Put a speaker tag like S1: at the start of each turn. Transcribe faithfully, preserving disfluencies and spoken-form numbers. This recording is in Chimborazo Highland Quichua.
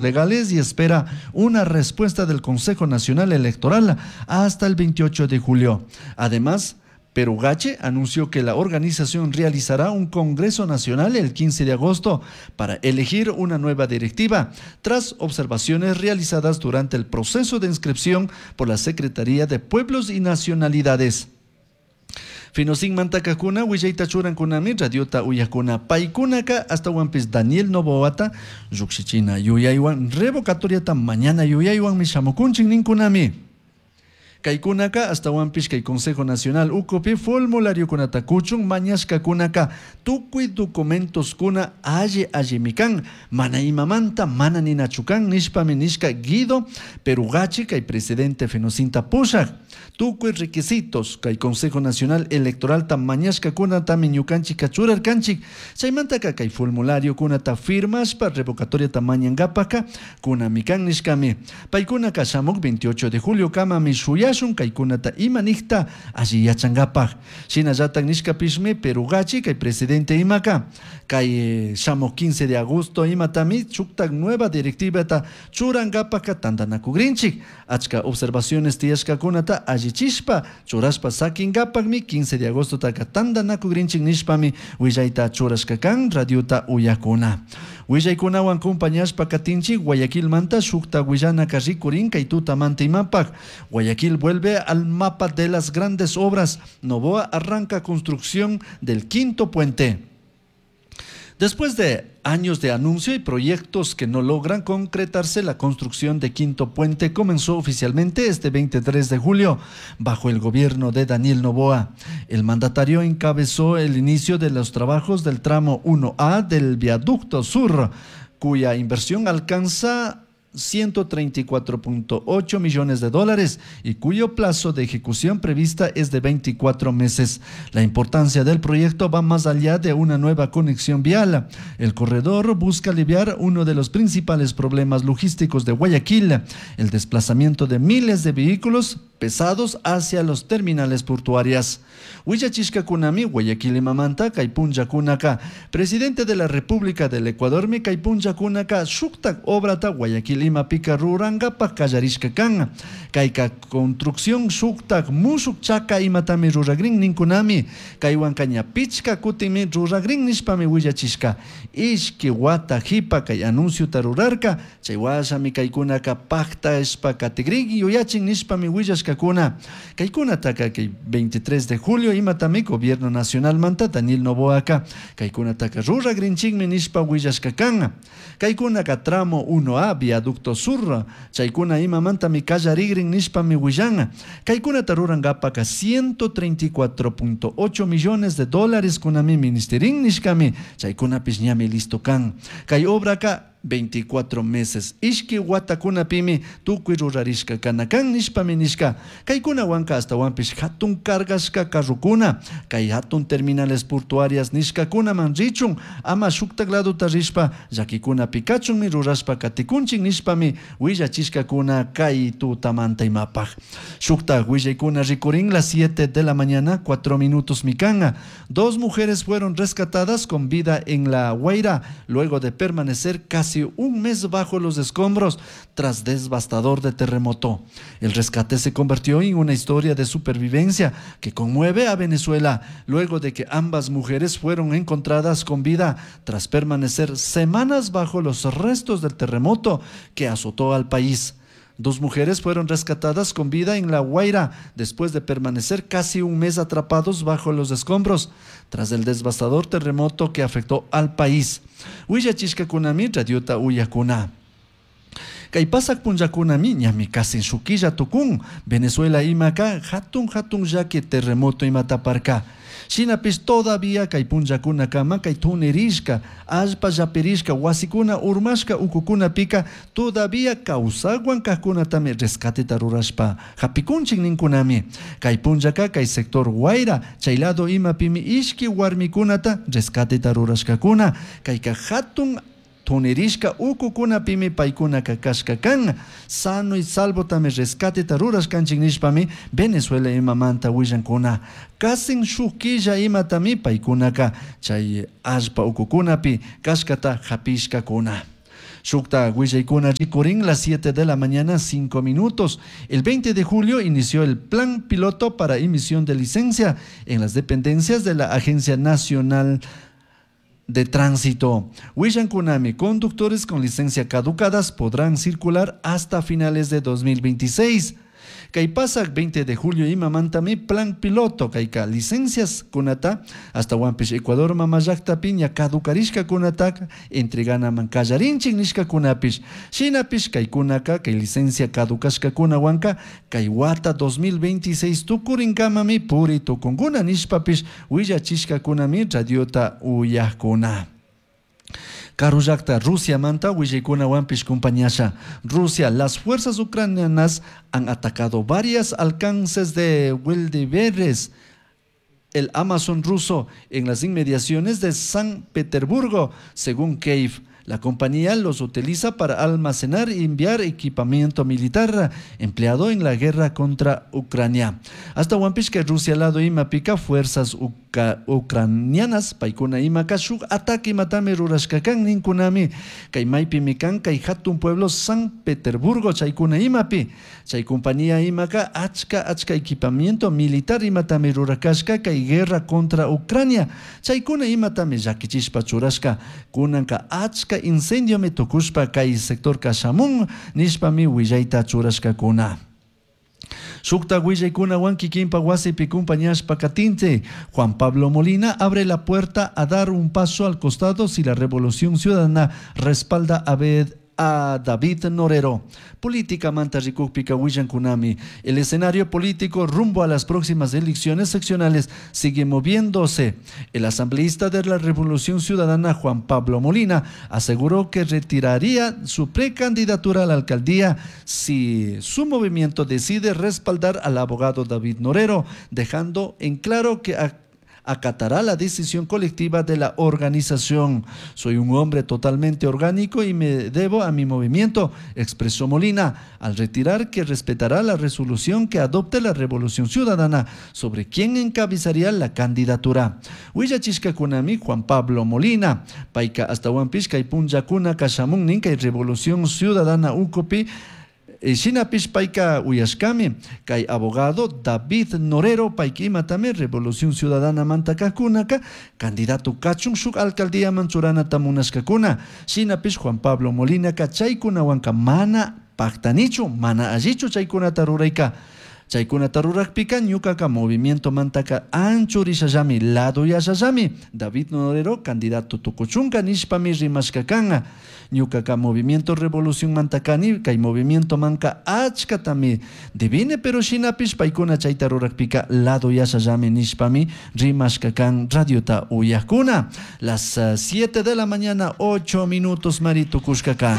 S1: Legales y espera una respuesta del Consejo Nacional Electoral hasta el veintiocho de julio. Además, Perugache anunció que la organización realizará un Congreso Nacional el quince de agosto para elegir una nueva directiva, tras observaciones realizadas durante el proceso de inscripción por la Secretaría de Pueblos y Nacionalidades. Fenosinmanta kajkuna willayta churankunami radiota uyajkuna paykunaka ashtawanpish Daniel Noboata llujshichina yuyaywan revocatoriata mañana yuyaywanmi shamukunchik ninkunami. Kaykunaka ashtawanpish kay Consejo Nacional ukupi formulariokunata kuchun mañashkakunaka tukuy documentoskuna alli allimi kan, mana imamanta mana ninachu kan nishpami nishka Guido Perugachi kay presidente Fenosinta pushak. Tukuy requisitos kay Consejo Nacional Electoralta mañashkakunatami ñukanchik churarkanchik, chaymantaka kay formulariokunata firmashpa revocatoriata mañankapaka kunami kan nishkami. Paykunaka shamuk veintiocho de julio kamami shuyashun kaykunata ima nikta alli yachankapak. Shinallatak nishkapishmi Perugachi kay presidente imaka kay shamuk quince de agosto imatami shuktak nueva directivata churankapaka tantanakugrinchik. Achka observaciones tiyashkakunata allichishpa churashpa sakinkapakmi quince de agosto taka tantanakugrinchik nishpami willayta churashka kan radiota uyakuna. Willaykunawan compañashpa katinchik Guayaquilmanta shukta willanaka rikurin kay tutamanta imapak. Guayaquil vuelve al mapa de las grandes obras. Noboa arranca construcción del quinto puente. Después de años de anuncio y proyectos que no logran concretarse, la construcción de Quinto Puente comenzó oficialmente este veintitrés de julio bajo el gobierno de Daniel Noboa. El mandatario encabezó el inicio de los trabajos del tramo uno A del viaducto sur, cuya inversión alcanza ciento treinta y cuatro punto ocho millones de dólares y cuyo plazo de ejecución prevista es de veinticuatro meses. La importancia del proyecto va más allá de una nueva conexión vial. El corredor busca aliviar uno de los principales problemas logísticos de Guayaquil, el desplazamiento de miles de vehículos pesados hacia los terminales portuarias. Willachishkakunami Guayaquil imamanta kay punllakunaka. Presidente de la República del Ecuador mi kay punllakunaka shuktak obrata Guayaquil imapika rurankapak kallarishka kan. Kayka construcción shuktak mushuk chaka imatami ruragrin ninkunami. Kaywan kaña pichka kutimi ruragrin nishpami willachishka. Ishki wata hipa kay anunciota rurarka. Chay washami kaykunaka pakta ishpa katigrin yuyachin nishpami willashkakuna. Kaykunataka kay veintitrés de julio imatami Gobierno Nacional manta Daniel Noboaka. Kaykunataka ruragrinchikmi nishpa willashka kan. Kaykunaka tramo uno A viaducto sur. Chaykuna imamantami kallarigrin nishpami willan. Kaykunata rurankapaka ciento treinta y cuatro punto ocho millones de dólares kunami ministerin nishkami. Chaykunapis ñami listo kan. Kay obraka veinticuatro meses. Ishki watakunapimi tukuy rurarishka kanakan nishpami nishka. Kaykunawanka ashtawanpish hatun cargashka carrukuna. Kay hatun terminales portuarias nishkakunaman richun. Ama shuktak laduta rishpa llakikunapi kachunmi rurashpa katikunchik nishpami willachishkakuna kay tutamanta imapaj. Shuktak willaykuna rikurin las siete de la mañana, cuatro minutos mikanga. Dos mujeres fueron rescatadas con vida en La Guaira luego de permanecer casi un mes bajo los escombros tras devastador de terremoto. El rescate se convirtió en una historia de supervivencia que conmueve a Venezuela luego de que ambas mujeres fueron encontradas con vida tras permanecer semanas bajo los restos del terremoto que azotó al país. Dos mujeres fueron rescatadas con vida en La Guaira después de permanecer casi un mes atrapados bajo los escombros tras el devastador terremoto que afectó al país. Willachishkakunami radiota uyakuna. Kay pasak punllakunami ñami casi shukilla tukun. Venezuela imaka hatun hatun llaki terremoto imataparka. Shinapish todavía kay punllakunakama kay tunirishka, allpa llapirishka, wasikuna urmashka ukukunapika todavía kawsakwan kajkunatami rescateta rurashpa hapikunchik ninkunami. Kay punllaka kay sector Guaira, chay lado imapimi ishki warmikunata rescateta rurashkakuna. Kayka hatun tunirishka ukukunapimi paykunaka kashka kan. Sano y salvo tami rescateta rurashkanchik nishpami Venezuela imamanta willankuna. Kasin shuk killa imatami paykunaka chay allpa ukukunapi kashkata hapishkakuna. Shukta willaykuna rikurin las siete de la mañana cinco minutos. El veinte de julio inició el plan piloto para emisión de licencia en las dependencias de la Agencia Nacional de Tránsito. Willankunami, conductores con licencia caducadas podrán circular hasta finales de dos mil veintiséis. Kay pasak veinte de julio imamantami plan piloto kayka licencias kunata hasta Huampish Ecuador mamallakta piña caducarishka kunata entreganaman kallarinchik nishka kunapish shinapish kaykunaka kay licencia caducashka kunawanka kay wata dos mil veintiséis tukurinkamami puri tukunkuna nishpapish willachishka kunami radiota uyakuna. Karullakta Rusia manta willaykunawanpish compañasha. Rusia, las fuerzas ucranianas han atacado varias alcances de Wildberries, el Amazon ruso, en las inmediaciones de San Petersburgo, según Kiev. La compañía los utiliza para almacenar y enviar equipamiento militar empleado en la guerra contra Ucrania. Hasta Huampishka, Rusia lado imapica fuerzas uca, ucranianas, paikuna imaka shuk ataque matame rurashkakan ninkunami, kay maypi mikan kay hatun pueblo San Petersburgo chaykuna imapi. Chay compañía imaka achka achka equipamiento militar imatame rurakashka kay guerra contra Ucrania. Chaykuna imatame llakichishpa churashka kunanka achka incendio me tukushpa kay sector kashamun nishpami willayta churashkakuna. Shukta willaykunawan kikinpa wasipi kumpañashpa katinte. Juan Pablo Molina abre la puerta a dar un paso al costado si la Revolución Ciudadana respalda a Bed a David Norero. Política manta rikukpika willankunami. El escenario político rumbo a las próximas elecciones seccionales sigue moviéndose. El asambleísta de la Revolución Ciudadana, Juan Pablo Molina, aseguró que retiraría su precandidatura a la alcaldía si su movimiento decide respaldar al abogado David Norero, dejando en claro que a acatará la decisión colectiva de la organización. Soy un hombre totalmente orgánico y me debo a mi movimiento, expresó Molina, al retirar que respetará la resolución que adopte la Revolución Ciudadana sobre quién encabezaría la candidatura. Huillachishka kunami Juan Pablo Molina, paika hasta Huampishka y punllakuna kashamun ninka y Revolución Ciudadana ukopi, Shinapish paika uyashkami, kay abogado David Norero paika imatami Revolución Ciudadana mantakakunaka, candidato kachun shuk alcaldía manchurana tamunashkakuna. Shinapish Juan Pablo Molina ka chaykunawanka mana paktanichu, mana allichu chaykunata rurayka. Chaykunata rurakpika ñukaka movimiento mantaka anchurishallami, lado yashallami. David Norero candidato tukuchunka nishpami rimashkakanga. Ñukaka movimiento Revolución mantakani, kay movimiento manka achkatami divine, pero shinapish paykuna chayta rurakpika lado yashallami nishpami rimashkakan radiota uyakuna. Las siete de la mañana, ocho minutos, mari tukushkakan.